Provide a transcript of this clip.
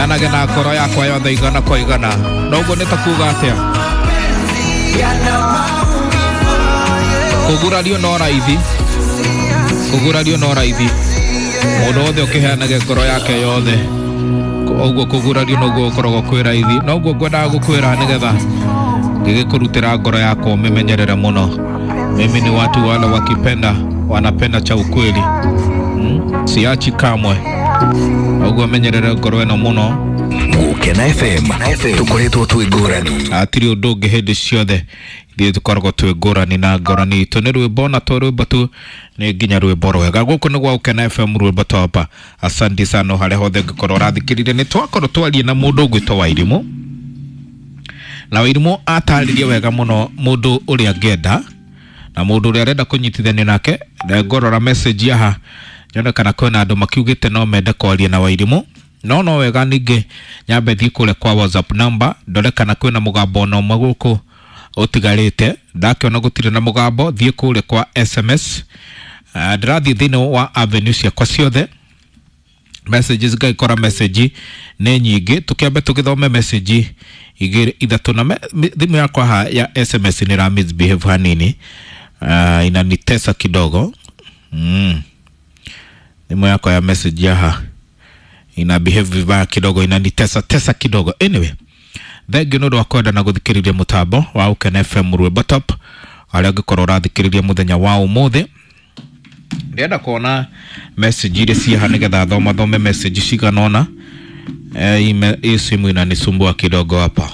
Heanage na ngoro yakwa yothe igana kwa igana. Noguo nĩ ta kuga atĩa? Kũgurario no raithi, kũgurario no raithi. Mũndũ wothe ũkĩheanage ngoro yake yothe, ũguo kũgurario noguo gũkoragwo kwĩ raithi. Noguo ngwendaga gũkwĩra nĩgetha ngĩgĩkũrutĩra ngoro yakwa ũmĩmenyerere mũno. Mimi ni watu wale wakipenda wanapenda cha ukweli, Siachi kamwe. Ũguo menyerere ngoro ĩno mũno. Gukena FM tukoretwo twĩ ngũrani. Hatirĩ ũndũ ũngĩ hĩndĩ ciothe ithuĩ tũkoragwo twĩ ngũrani na ngũrani itũ nĩ rwĩmbo na to rwĩmbo tu nĩ nginya rwĩmbo rwega. Gũkũ nĩ gwa Gukena FM rwĩmbo topa. Asante sana harĩa hothe ũngĩkorwo ũrathikĩrĩria. Nĩ twakorwo twarie na mũndũ ũgwĩtwo Wairimũ, na Wairimũ atarĩrie wega mũno mũndũ ũrĩa angĩenda na mũndũ ũrĩa arenda kũnyitithanio nake. Ngorora message haha nyone kana kwĩna andũ makiugĩte no mende kwaria na Wairimũ. No wega ningĩ nyambe thiĩ kũrĩa kwa WhatsApp number ndore kana kwĩna mũgambo ona ũmwe gũkũ ũtigarĩte. Ndakĩona gũtirĩ na mũgambo, thiĩ kũrĩa kwa SMS. Ndĩrathiĩ thĩinĩ wa avenue ciakwa ciothe messages, ngaikora message nĩ nyingĩ. Tũkĩambe tũgĩthome message igĩrĩ ithatũ na thimũ yakwa haha ya SMS nĩ ra misbehave hanini. Inanitesa kidogo. Thimũ yakwa ya message haha ina behave vibaya kidogo, inanitesa tesa kidogo. Anyway, thengiũ nĩ ũndũ wa kwenda na gũthikĩrĩria mũtambo wa Gukena FM rwĩmbo top arĩa ũngĩkorwo ũrathikĩrĩria mũthenya wa ũmũthĩ. Ndĩrenda kuona message iria ciĩ haha nĩgetha thoma thome message cigana ũna. Hii simu inanisumbua kidogo hapa.